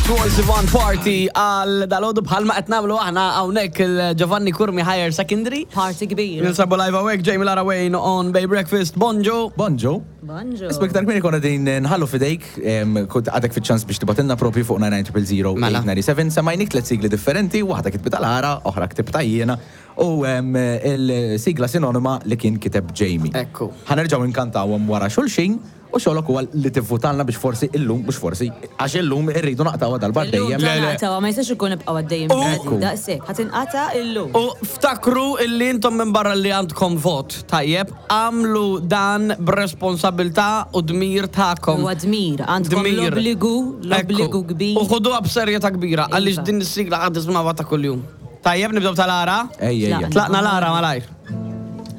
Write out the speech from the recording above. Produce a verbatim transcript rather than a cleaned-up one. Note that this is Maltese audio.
Troye Sivan Party għal dalgħodu bħalma qed nagħmlu aħna hawnhekk il-Giovanni Curmi Higher Secondary. Party kbir. Ninsabu live hawnhekk Jamie Lara Wayne on Bay Breakfast. Bonġu. Bonġu. Bonġu. Isma iktar kmieni konna din nħallu fidejk, em, kont għadek fiċ-ċans biex tibgħatilna propju fuq nine nine zero zero Mela. eight nine seven, semmajnik tliet sigli differenti, waħda kitbitha Lara, oħra ktibtha jiena, u em, il-sigla sinonima li kien kiteb Jamie. Ekku. Ħa nerġgħu nkantawhom wara xulxin, u xogħlok huwa li tivvutalna biex forsi illum, mhux forsi, għax illum irridu naqtgħuha darba Illum dejjem. Le, le. naqtgħuha, ma jistax ikun nibqgħu għaddejjem U- daqshekk. Ħa tinqata' illum. U ftakru illi intom minn barra li għandkom vot, tajjeb, għamlu dan b'responsabilità u dmir tagħkom. Huwa dmir, għandkom Dmir. l-obbligu, l-obbligu Ekku. kbir. U ħuduha b'serjetà kbira, għaliex Iva. din is-sigla għad tismawha ta' kuljum. Tajjeb, nibdew tal-Lara? Ejja, ejja. Tlaqna Lara malajr.